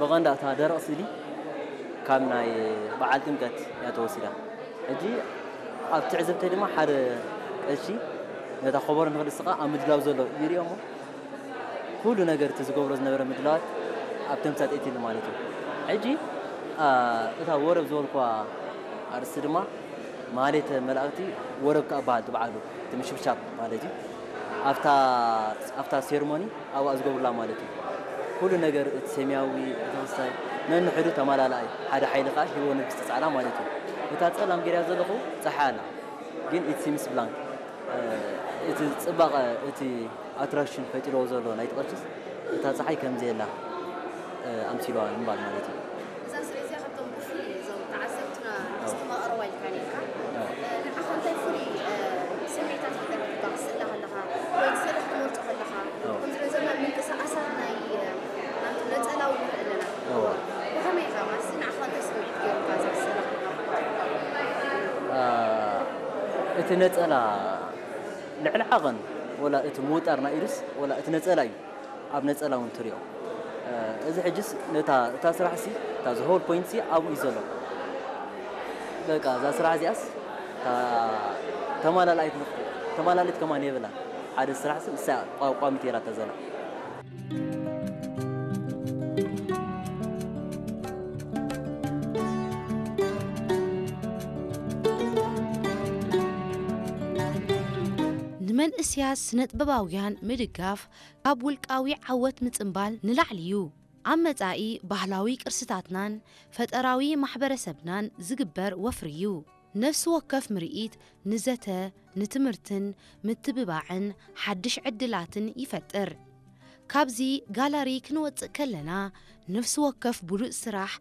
ብቐንዳ እታ ደረቕ ስእሊ ካብ ናይ በዓል ጥምቀት እያ ተወሲዳ። ሕጂ ኣብ ትዕዝብተይ ድማ ሓደ ቀሺ ነታ ኮቦሮ ንኽድስቓ ኣብ ምድላው ዘሎ ይሪኦ እሞ ኩሉ ነገር እቲ ዝገብሮ ዝነበረ ምድላዋት ኣብ ተምሳጥ እትሉ ማለት እዩ። ሕጂ እታ ወረብ ዝበልኩዋ ኣርእስቲ ድማ ማሌተ መላእክቲ ወረብ ከኣ በሃል ትበዓሉ እቲ ምሽብሻብ ማለት እዩ። ኣብታ ኣብታ ሴርሞኒ ኣብኣ ዝገብሩላ ማለት እዩ። ኩሉ ነገር እቲ ሰማያዊ እቲ ክስታይ ነንሕዱ ተማላላኣይ ሓደ ሓይሊ ከኣ ሂቦ ንግስቲ ጻዕዳ ማለት እዩ። እታ ጸላም ገይራ ዘለኹ ጸሓይ ኣላ ግን ኢት ሲምስ ብላንክ እቲ ጽባቐ እቲ ኣትራክሽን ፈጢርዎ ዘሎ ናይቲ ቅርሲስ እታ ጸሓይ ከም ዘየላ ኣምሲልዋ ንምባል ማለት እዩ። እዛ ስለ እዚኣ ካብቶም ብፍሉይ እዞም ተዓዘብትና ዝተመቐርዋ ኢልካ ነርካ። ንዓኻ እንታይ ፍሉይ ስምዒታት ፈጠረትካ ክትስእላ ከለኻ ወይ እቲ ስእሊ ክትመርጾ ከለኻ? ከምዚ ንሪኦ ዘለና ምንቅስቃሳት ናይ ናቱ ነጸላ እውን ንርኢ ኣለና። ብኸመይ ኢኻ ማለት ንዓኻ እንታይ ስምዒት ገይሩካ እዛ ክትስእላ ከለኻ? እቲ ነጸላ ልዕሊ ዓቐን ወላ እቲ ምውጣር ናይ ኢዱስ ወላ እቲ ነጸላ እዩ ኣብ ነጸላ እውን ትሪኦ። እዚ ሕጅስ ነታ እታ ስራሕ ሲ እታ ዝሆል ፖይንት ሲ ኣብኡ እዩ ዘሎ። በቃ እዛ ስራሕ እዚኣስ እታ ተማላላይት ተማላሊት ከማን የብላ ሓደ ስራሕ ሲ እሳ ቋሚት የላ ተዘላ። ንመንእስያት ስነጥበባውያን ምድጋፍ ካብ ውልቃዊ ዓወት ምጽንባል ንላዕሊ እዩ። ኣብ መጻኢ ባህላዊ ቅርስታትናን ፈጠራዊ ማሕበረሰብናን ዝግበር ወፍሪ እዩ። ነፍሲ ወከፍ ምርኢት ንዘተ፣ ንትምህርትን ምትብባዕን ሓድሽ ዕድላትን ይፈጥር። ካብዚ ጋላሪ ክንወጽእ ከለና ነፍሲ ወከፍ ብሉጽ ስራሕ